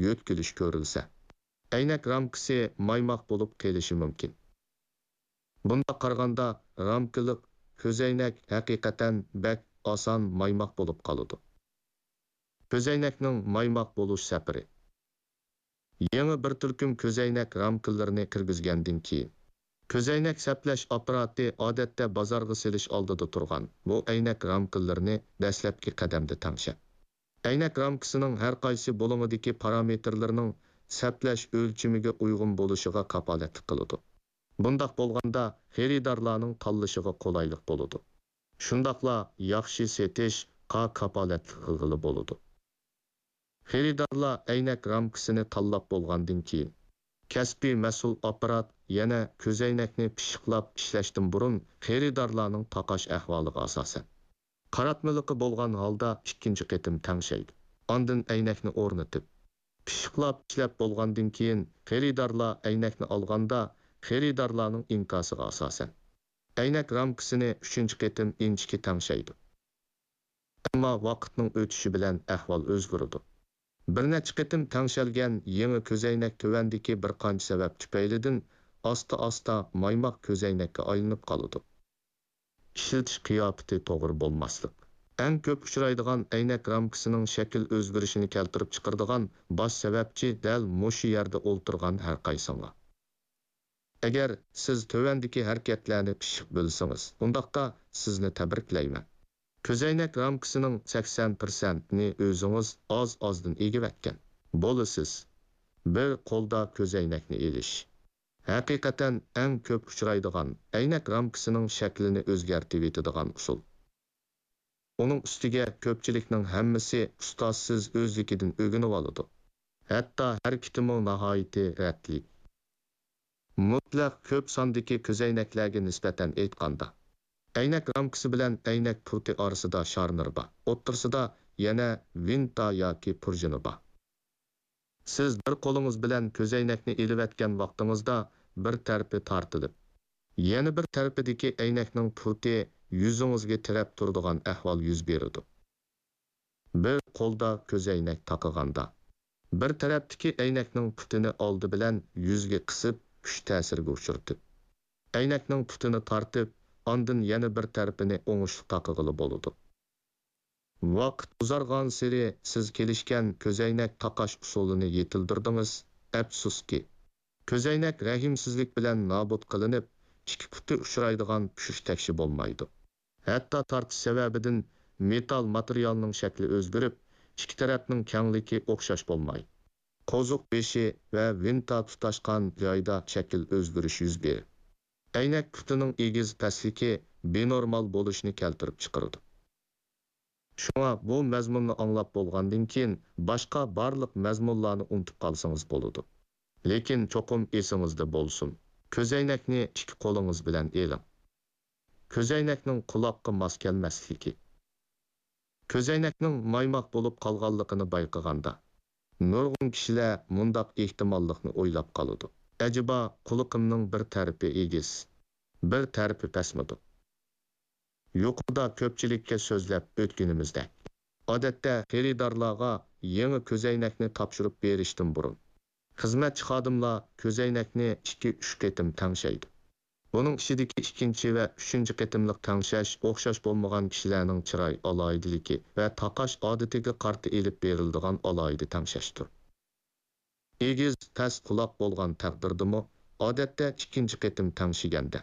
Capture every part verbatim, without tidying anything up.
يۆتكىلىش كۆرۈلسە، ئەينەك رامكىسى مايماق بولۇپ قېلىشى مۇمكىن. بۇنداق قارىغاندا، رامكىلىق كۆزەينەك ھەقىقەتەن بەك ئاسان مايماق بولۇپ قالىدۇ. كۆزەينەكنىڭ مايماق بولۇش سەپىرى. يېڭى بىر تۈركۈم كۆزەينەك رامكىلىرىنى كىرگۈزگەندىن كېيىن، كۆزەينەك سەپلەش ئاپپاراتى ئادەتتە بازارغا سېلىش ئالدىدا تۇرغان بۇ ئەينەك رامكىلىرىنى دەسلەپكى قەدەمدە تەڭشەڭ. ئەينەك رامكىسىنىڭ ھەر قايسى بۇلۇڭىدىكى پارامېتىرلىرىنىڭ سەپلەش ئۆلچىمىگە ئۇيغۇن بولۇشىغا كاپالەتلىك قىلىدۇ. بۇنداق بولغاندا، خېرىدارلارنىڭ تاللىشىغا قولايلىق بولىدۇ. شۇنداقلا ياخشى سېتىشقا كاپالەتلىك قىلغىلى بولىدۇ. خېرىدارلار ئەينەك رامكىسىنى تاللاپ بولغاندىن كېيىن، كەسپىي مەسئۇل ئاپپارات يەنە كۆزەينەكنى پىششىقلاپ ئىشلەشتىن بۇرۇن، خېرىدارلارنىڭ تاقاش ئەھۋالىغا ئاساسەن، قاراتمىلىقى بولغان ھالدا ئىككىنچى قېتىم تەڭشەيدۇ. ئاندىن ئەينەكنى ئورنىتىپ، پىششىقلاپ ئىشلەپ بولغاندىن كېيىن، خېرىدارلار ئەينەكنى ئالغاندا، خېرىدارلارنىڭ ئىنكاسىغا ئاساسەن، ئەينەك رامكىسىنى ئۈچىنچى قېتىم ئىنچىكە تەڭشەيدۇ. ئەمما ۋاقىتنىڭ ئۆتۈشى بىلەن ئەھۋال ئۆزگىرىدۇ. بىر نەچچە قېتىم تەڭشەلگەن يېڭى كۆزەينەك تۆۋەندىكى بىر قانچە سەۋەب تۈپەيلىدىن ئاستا-ئاستا مايماق كۆزەينەككە ئايلىنىپ قالىدۇ. ئىشلىتىش قىياپىتى توغرا بولماسلىق. ئەڭ كۆپ ئۇچرايدىغان ئەينەك رامكىسىنىڭ شەكىل ئۆزگىرىشىنى كەلتۈرۈپ چىقىرىدىغان باش سەۋەبچى دەل مۇشۇ يەردە ئولتۇرغان ھەرقايسىڭلار. ئەگەر سىز تۆۋەندىكى ھەرىكەتلەرنى پىششىق بىلسىڭىز، ئۇنداقتا سىزنى تەبرىكلەيمەن. كۆزەينەك رامكىسىنىڭ سەكسەن پىرسەنتىنى ئۆزىڭىز ئاز-ئازدىن ئېگىۋەتكەن بولىسىز. بىر قولدا كۆزەينەكنى ئېلىش. ھەقىقەتەن ئەڭ كۆپ ئۇچرايدىغان ئەينەك رامكىسىنىڭ شەكلىنى ئۆزگەرتىۋېتىدىغان ئۇسۇل. ئۇنىڭ ئۈستىگە كۆپچىلىكنىڭ ھەممىسى ئۇستازسىز ئۆزلۈكىدىن ئۆگىنىۋالىدۇ. ھەتتا ھەرىكىتىمۇ ناھايىتى رەتلىك. مۇتلەق كۆپ ساندىكى كۆزەينەكلەرگە نىسبەتەن ئېيتقاندا، ئەينەك رامكىسى بىلەن ئەينەك پۇرتى ئارىسىدا شارنىر بار، ئوتتۇرىسىدا يەنە ۋىنتا ياكى پۇرژىنى بار. سىز بىر قولىڭىز بىلەن كۆزەينەكنى ئېلىۋەتكەن ۋاقتىڭىزدا بىر تەرىپى تارتىلىپ، يەنە بىر تەرىپىدىكى ئەينەكنىڭ پۇرتى يۈزىڭىزگە تىرەپ تۇرىدىغان ئەھۋال يۈز بېرىدۇ. بىر قولدا كۆزەينەك تاقىغاندا، بىر تەرەپتىكى ئەينەكنىڭ پۇتىنى ئالدى بىلەن يۈزگە قىسىپ، كۈچ تەسىرىگە ئۇچرىتىپ، ئەينەكنىڭ پۇتىنى تارتىپ، ئاندىن يەنە بىر تەرىپىنى ئوڭۇشلۇق تاقىغىلى بولىدۇ. ۋاقىت ئۇزارغانسېرى سىز كېلىشكەن كۆزەينەك تاقاش ئۇسۇلىنى يېتىلدۈردىڭىز. ئەپسۇسكى، كۆزەينەك رەھىمسىزلىك بىلەن نابۇت قىلىنىپ، ئىككى پۇتى ئۇچرايدىغان پۈشۈش تەكشى بولمايدۇ. ھەتتا تارتىش سەۋەبىدىن مېتال ماتېرىيالنىڭ شەكلى ئۆزگىرىپ، ئىككى تەرەپنىڭ كەڭلىكى ئوخشاش بولماي، قوزۇق بېشى ۋە ۋىنتا تۇتاشقان جايدا شەكىل ئۆزگىرىش يۈز بېرىپ، ئەينەك پۇتىنىڭ ئېگىز پەسلىكى بىنورمال بولۇشنى كەلتۈرۈپ چىقىرىدۇ. شۇڭا بۇ مەزمۇننى ئاڭلاپ بولغاندىن كېيىن، باشقا بارلىق مەزمۇنلارنى ئۇنتۇپ قالسىڭىز بولىدۇ. لېكىن چوقۇم ئېسىڭىزدە بولسۇن، كۆزەينەكنى ئىككى قولىڭىز بىلەن ئېلىڭ. كۆزەينەكنىڭ قۇلاققا ماس كەلمەسلىكى. كۆزەينەكنىڭ مايماق بولۇپ قالغانلىقىنى بايقىغاندا، نۇرغۇن كىشىلەر مۇنداق ئېھتىماللىقنى ئويلاپ قالىدۇ: ئەجەبا، قۇلىقىمنىڭ بىر تەرىپى ئېگىز، بىر تەرىپى پەسمىدۇ؟ يۇقىرىدا كۆپچىلىككە سۆزلەپ ئۆتكىنىمىزدەك، ئادەتتە خېرىدارلارغا يېڭى كۆزەينەكنى تاپشۇرۇپ بېرىشتىن بۇرۇن، خىزمەتچى خادىملار كۆزەينەكنى ئىككى، ئۈچ قېتىم تەڭشەيدۇ. بۇنىڭ ئىچىدىكى ئىككىنچى ۋە ئۈچىنچى قېتىملىق تەڭشەش ئوخشاش بولمىغان كىشىلەرنىڭ چىراي ئالاھىدىلىكى ۋە تاقاش ئادىتىگە قارىتا ئېلىپ بېرىلىدىغان ئالاھىدە تەڭشەشتۇر. ئېگىز، پەس قۇلاق بولغان تەقدىردىمۇ، ئادەتتە ئىككىنچى قېتىم تەڭشىگەندە،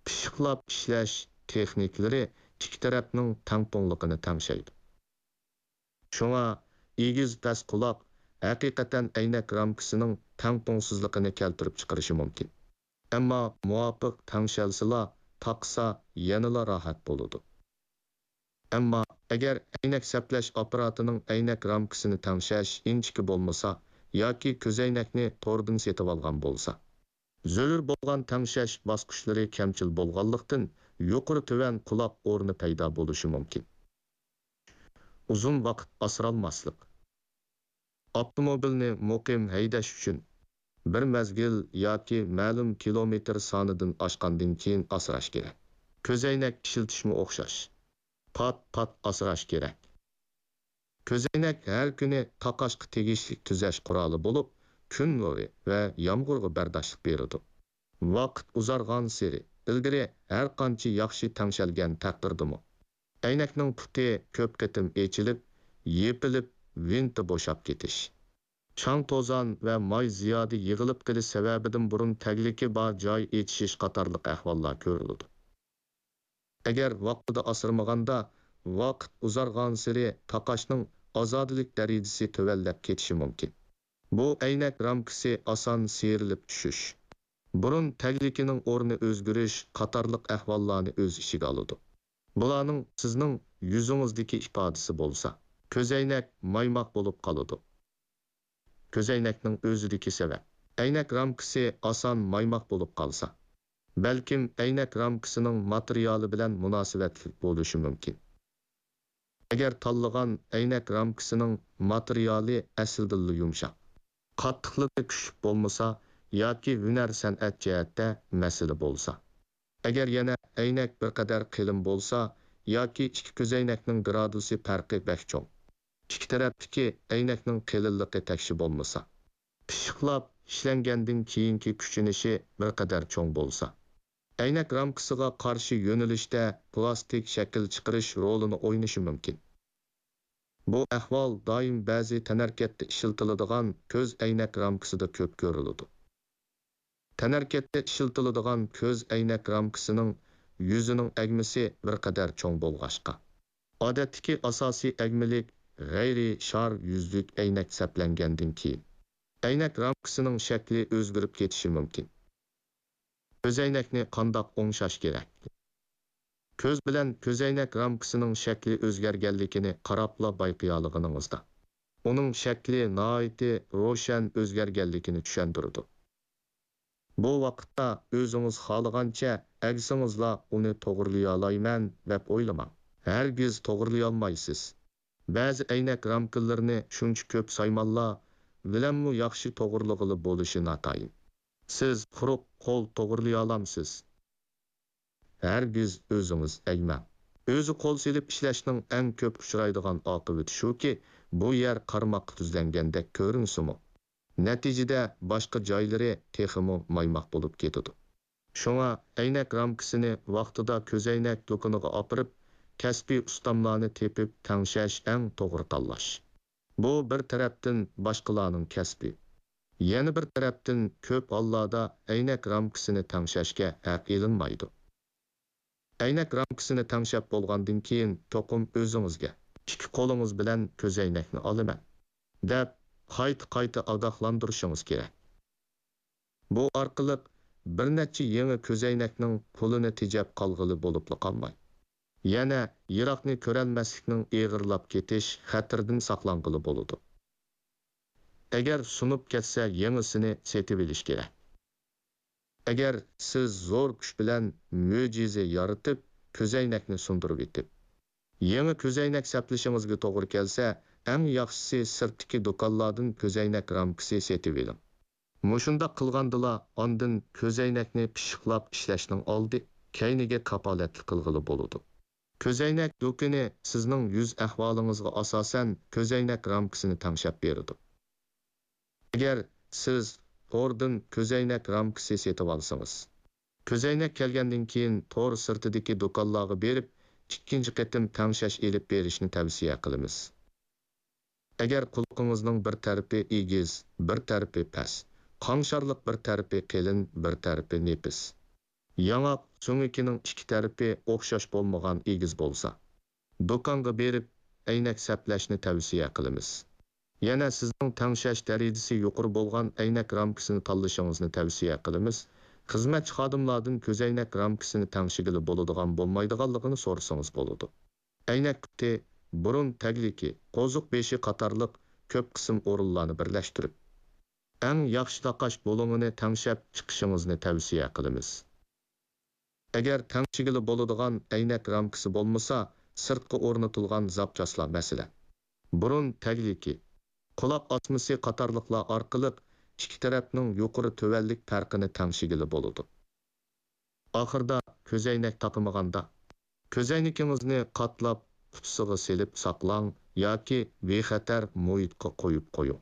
پىششىقلاپ ئىشلەش تېخنىكىلىرى ئىككى تەرەپنىڭ تەڭپۇڭلۇقىنى تەڭشەيدۇ. شۇڭا ئېگىز، پەس قۇلاق ھەقىقەتەن ئەينەك رامكىسىنىڭ تەڭپۇڭسىزلىقىنى كەلتۈرۈپ چىقىرىشى مۇمكىن. ئەمما مۇۋاپىق تەڭشەلسىلا، تاقىسا يەنىلا راھەت بولىدۇ. ئەمما ئەگەر ئەينەك سەپلەش ئاپپاراتىنىڭ ئەينەك رامكىسىنى تەڭشەش ئىنچىكە بولمىسا ياكى كۆزەينەكنى توردىن سېتىۋالغان بولسا، زۆرۈر بولغان تەڭشەش باسقۇچلىرى كەمچىل بولغانلىقتىن، يۇقىرى تۆۋەن قۇلاق ئورنى پەيدا بولۇشى مۇمكىن. ئۇزۇن ۋاقىت ئاسرالماسلىق. ئاپتوموبىلنى مۇقىم ھەيدەش ئۈچۈن، بىر مەزگىل ياكى مەلۇم كىلومېتىر سانىدىن ئاشقاندىن كېيىن ئاسراش كېرەك. كۆزەينەك ئىشلىتىشمۇ ئوخشاش. پات-پات ئاسراش كېرەك. كۆزەينەك ھەر كۈنى تاقاشقا تېگىشلىك تۈزەش قورالى بولۇپ، كۈن نۇرى ۋە يامغۇرغا بەرداشلىق بېرىدۇ. ۋاقىت ئۇزارغانسېرى ئىلگىرى ھەر قانچە ياخشى تەڭشەلگەن تەقدىردىمۇ، ئەينەكنىڭ پۇتى كۆپ قېتىم ئېچىلىپ، يېپىلىپ، ۋىنتى بوشاپ كېتىش، چاڭ-توزان ۋە ماي زىيادە يىغىلىپ قېلىش سەۋەبىدىن بۇرۇن تەگلىكى بار جاي ئېچىشىش قاتارلىق ئەھۋاللار كۆرۈلىدۇ. ئەگەر ۋاقتىدا ئاسرىمىغاندا، ۋاقىت ئۇزارغانسېرى تاقاشنىڭ ئازادىلىك دەرىجىسى تۆۋەنلەپ كېتىشى مۇمكىن. بۇ ئەينەك رامكىسى ئاسان سىيرىلىپ چۈشۈش، بۇرۇن تەگلىكىنىڭ ئورنى ئۆزگىرىش قاتارلىق ئەھۋاللارنى ئۆز ئىچىگە ئالىدۇ. بۇلارنىڭ سىزنىڭ يۈزىڭىزدىكى ئىپادىسى بولسا، كۆزەينەك مايماق بولۇپ قالىدۇ. كۆزەينەكنىڭ ئۆزىدىكى سەۋەب. ئەينەك رامكىسى ئاسان مايماق بولۇپ قالسا، بەلكىم ئەينەك رامكىسىنىڭ ماتېرىيالى بىلەن مۇناسىۋەتلىك بولۇشى مۇمكىن. ئەگەر تاللىغان ئەينەك رامكىسىنىڭ ماتېرىيالى ئەسلىدىنلا يۇمشاق، قاتتىقلىقى كۈچلۈك بولمىسا ياكى ھۈنەر-سەنئەت جەھەتتە مەسىلە بولسا، ئەگەر يەنە ئەينەك بىر قەدەر قېلىن بولسا ياكى ئىككى كۆزەينەكنىڭ گرادۇسى پەرقى بەك چوڭ، ئىككى تەرەپتىكى ئەينەكنىڭ قېلىنلىقى تەكشى بولمىسا، پىششىقلاپ ئىشلەنگەندىن كېيىنكى كۈچىنىشى بىر قەدەر چوڭ بولسا، ئەينەك رامكىسىغا قارشى يۆنىلىشتە پلاستىك شەكىل چىقىرىش رولىنى ئوينىشى مۇمكىن. بۇ ئەھۋال دائىم بەزى تەنھەرىكەتتە ئىشلىتىلىدىغان كۆز ئەينەك رامكىسىدا كۆپ كۆرۈلىدۇ. تەنھەرىكەتتە ئىشلىتىلىدىغان كۆز ئەينەك رامكىسىنىڭ يۈزىنىڭ ئەگمىسى بىر قەدەر چوڭ بولغاچقا، ئادەتتىكى ئاساسىي ئەگمىلىك غەيرىي شار يۈزلۈك ئەينەك سەپلەنگەندىن كېيىن، ئەينەك رامكىسىنىڭ شەكلى ئۆزگىرىپ كېتىشى مۇمكىن. كۆزەينەكنى قانداق ئوڭشاش كېرەك؟ كۆز بىلەن كۆزەينەك رامكىسىنىڭ شەكلى ئۆزگەرگەنلىكىنى قاراپلا بايقىيالىغىنىڭىزدا، ئۇنىڭ شەكلى ناھايىتى روشەن ئۆزگەرگەنلىكىنى چۈشەندۈرىدۇ. بۇ ۋاقىتتا ئۆزىڭىز خالىغانچە ئەگسىڭىزلا ئۇنى توغرىلىيالايمەن دەپ ئويلىماڭ. ھەرگىز توغرىلىيالمايسىز. بەزى ئەينەك رامكىلىرىنى شۇنچە كۆپ سايمانلار بىلەنمۇ ياخشى توغرىلىغىلى بولۇشى ناتايىن. سىز قۇرۇق قول توغرىلىيالامسىز؟ ھەرگىز ئۆزىڭىز ئەگمەڭ. ئۆزى قول سېلىپ ئىشلەشنىڭ ئەڭ كۆپ ئۇچرايدىغان ئاقىۋىتى شۇكى، بۇ يەر قارىماققا تۈزلەنگەندەك كۆرۈنسىمۇ، نەتىجىدە باشقا جايلىرى تېخىمۇ مايماق بولۇپ كېتىدۇ. شۇڭا ئەينەك رامكىسىنى ۋاقتىدا كۆزەينەك دۇكىنىغا ئاپىرىپ، كەسپىي ئۇستاملارنى تېپىپ تەڭشەش ئەڭ توغرا تاللاش. بۇ بىر تەرەپتىن باشقىلارنىڭ كەسپى. يەنە بىر تەرەپتىن كۆپ ھاللاردا ئەينەك رامكىسىنى تەڭشەشكە ھەق ئېلىنمايدۇ. ئەينەك رامكىسىنى تەڭشەپ بولغاندىن كېيىن چوقۇم ئۆزىڭىزگە، ئىككى قولىڭىز بىلەن كۆزەينەكنى ئالىمەن، دەپ قايتا-قايتا ئاگاھلاندۇرۇشىڭىز كېرەك. بۇ ئارقىلىق بىر نەچچە يېڭى كۆزەينەكنىڭ پۇلىنى تېجەپ قالغىلى بولۇپلا قالماي، يەنە يىراقنى كۆرەلمەسلىكنىڭ ئېغىرلاپ كېتىش خەتىرىدىن ساقلانغىلى بولىدۇ. ئەگەر سۇنۇپ كەتسە، يېڭىسىنى سېتىۋېلىش كېرەك. ئەگەر سىز زور كۈچ بىلەن مۆجىزە يارىتىپ، كۆزەينەكنى سۇندۇرۇۋېتىپ، يېڭى كۆزەينەك سەپلىشىڭىزگە توغرا كەلسە، ئەڭ ياخشىسى سىرتتىكى دۇكانلاردىن كۆزەينەك رامكىسى سېتىۋېلىڭ. مۇشۇنداق قىلغاندىلا ئاندىن كۆزەينەكنى پىششىقلاپ ئىشلەشنىڭ ئالدى، كەينىگە كاپالەتلىك قىلغىلى بولىدۇ. كۆزەينەك دۇكىنى سىزنىڭ يۈز ئەھۋالىڭىزغا ئاساسەن كۆزەينەك رامكىسىنى تەڭشەپ بېرىدۇ. ئەگەر سىز توردىن كۆزەينەك رامكىسى سېتىۋالسىڭىز، كۆزەينەك كەلگەندىن كېيىن تور سىرتىدىكى دۇكانلارغا بېرىپ، ئىككىنچى قېتىم تەڭشەش ئېلىپ بېرىشنى تەۋسىيە قىلىمىز. ئەگەر قۇلىقىڭىزنىڭ بىر تەرىپى ئېگىز، بىر تەرىپى پەس، قاڭشارلىق بىر تەرىپى قېلىن، بىر تەرىپى نېپىز، ياڭاق سۆڭىكىنىڭ ئىككى تەرىپى ئوخشاش بولمىغان ئېگىز بولسا، دۇكانغا بېرىپ ئەينەك سەپلەشنى تەۋسىيە قىلىمىز. يەنە سىزنىڭ تەڭشەش دەرىجىسى يۇقىرى بولغان ئەينەك رامكىسىنى تاللىشىڭىزنى تەۋسىيە قىلىمىز. خىزمەتچى خادىملاردىن كۆزەينەك رامكىسىنى تەڭشىگىلى بولىدىغان بولمايدىغانلىقىنى سورىسىڭىز بولىدۇ. ئەينەك پۇتى، بۇرۇن تەگلىكى، قوزۇق بېشى قاتارلىق كۆپ قىسىم ئورۇنلارنى بىرلەشتۈرۈپ، ئەڭ ياخشى تاقاش بۇلۇڭىنى تەڭشەپ چىقىشىڭىزنى تەۋسىيە قىلىمىز. ئەگەر تەڭشىگىلى بولىدىغان ئەينەك رامكىسى بولمىسا، سىرتقا ئورنىتىلغان زاپچاسلار، مەسىلەن، بۇرۇن تەگلىكى، قۇلاق ئاسمىسى قاتارلىقلار ئارقىلىق ئىككى تەرەپنىڭ يۇقىرى تۆۋەنلىك پەرقىنى تەڭشىگىلى بولىدۇ. ئاخىرىدا كۆزەينەك تاقىمىغاندا، كۆزەينىكىڭىزنى قاتلاپ قۇتىسىغا سېلىپ ساقلاڭ ياكى بىخەتەر مۇھىتقا قويۇپ قويۇڭ.